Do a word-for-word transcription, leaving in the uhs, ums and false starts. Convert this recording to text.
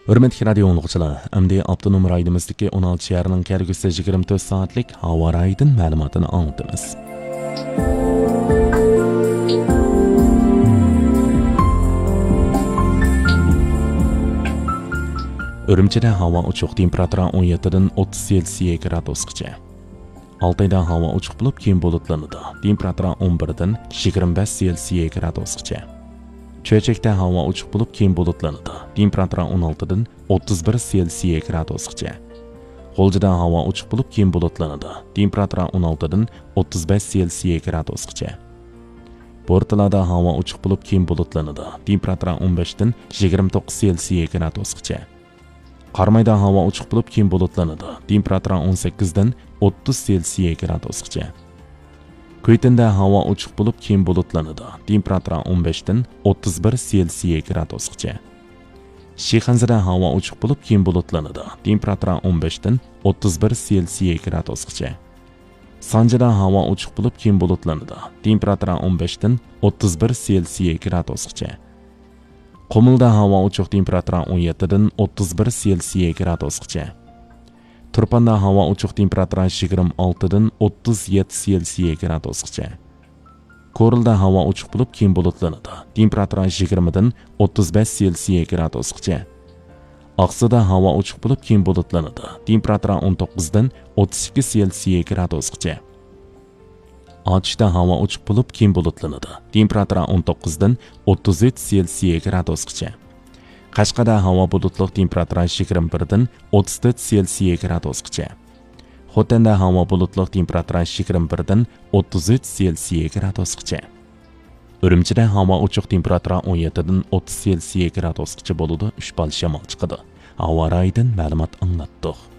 ھۆرمەتلىك رادىيو ئاڭلىغۇچىلار، ئەمدى ئاپتونوم رايونىمىزدىكى ئون ئالتە شەھەرنىڭ كەلگۈسى يىگىرمە تۆت سائەتلىك ھاۋا رايىدىن مەلۇماتىنى ئاڭلىتىمىز. ئۈرۈمچىدە ھاۋا ئوچۇق، تېمپېراتۇرا ئون يەتتىدىن ئوتتۇز سېلسىيە گرادۇسقىچە. ئالتايدا ھاۋا ئوچۇق بولۇپ، كېيىن بۇلۇتلىنىدۇ. تېمپېراتۇرا ئون بىردىن يىگىرمە بەش سېلسىيە گرادۇسقىچە. چۆچەكتە ھاۋا ئوچۇق بولۇپ، كېيىن بۇلۇتلىنىدۇ. تېمپېراتۇرا ئون ئالتىدىن ئوتتۇز بىر سېلسىيە گرادۇسقىچە. غۇلجىدا ھاۋا ئوچۇق بولۇپ، كېيىن بۇلۇتلىنىدۇ. تېمپېراتۇرا ئون ئالتىدىن ئوتتۇز بەش سېلسىيە گرادۇسقىچە. بورتالادا ھاۋا ئوچۇق بولۇپ، كېيىن بۇلۇتلىنىدۇ. تېمپېراتۇرا ئون بەشتىن يىگىرمە توققۇز سېلسىيە گرادۇسقىچە. قارامايدا ھاۋا ئوچۇق بولۇپ، كېيىن بۇلۇتلىنىدۇ. تېمپېراتۇرا ئون سەككىزدىن ئوتتۇز سېلسىيە گرادۇسقىچە. كۈيتىندە ھاۋا ئوچۇق بولۇپ، كېيىن بۇلۇتلىنىدۇ. تېمپېراتۇرا ئون بەشتىن ئوتتۇز بىر سېلسىيە گرادۇسقىچە. شىخەنزىدە ھاۋا ئوچۇق بولۇپ، كېيىن بۇلۇتلىنىدۇ. تېمپېراتۇرا ئون بەشتىن ئوتتۇز بىر سېلسىيە گرادۇسقىچە. سانجىدا ھاۋا ئوچۇق بولۇپ، كېيىن بۇلۇتلىنىدۇ. تېمپېراتۇرا ئون بەشتىن ئوتتۇز بىر سېلسىيە گرادۇسقىچە. قۇمۇلدا ھاۋا ئوچۇق، تېمپېراتۇرا ئون يەتتىدىن ئوتتۇز بىر سېلسىيە گرادۇسقىچە. تۇرپاندا ھاۋا ئوچۇق، تېمپېراتۇرا يىگىرمە ئالتىدىن ئوتتۇز يەتتە سېلسىيە گرادۇسقىچە. كورلىدا ھاۋا ئوچۇق بولۇپ، كېيىن بۇلۇتلىنىدۇ. تېمپېراتۇرا يىگىرمىدىن ئوتتۇز بەش سېلسىيە گرادۇسقىچە. ئاقسۇدا ھاۋا ئوچۇق بولۇپ، كېيىن بۇلۇتلىنىدۇ. تېمپېراتۇرا ئون توققۇزدىن ئوتتۇز ئىككى سېلسىيە گرادۇسقىچە. ئاتۇشتا ھاۋا ئوچۇق بولۇپ، كېيىن بۇلۇتلىنىدۇ. تېمپېراتۇرا ئون توققۇزدىن ئوتتۇز ئۈچ سېلسىيە گرادۇسقىچە. قەشقەردە ھاۋا بۇلۇتلۇق، تېمپېراتۇرا يىگىرمە بىردىن ئوتتۇز تۆت سېلسىيە گرادۇسقىچە. خوتەندە ھاۋا بۇلۇتلۇق، تېمپېراتۇرا يىگىرمە بىردىن ئوتتۇز ئۈچ سېلسىيە گرادۇسقىچە. ئۈرۈمچىدە ھاۋا ئوچۇق، تېمپېراتۇرا ئون يەتتىدىن ئوتتۇز سېلسىيە گرادۇسقىچە بولىدۇ، ئۈچ بال شامال چىقىدۇ. ھاۋا رايىدىن مەلۇمات ئاڭلاتتۇق.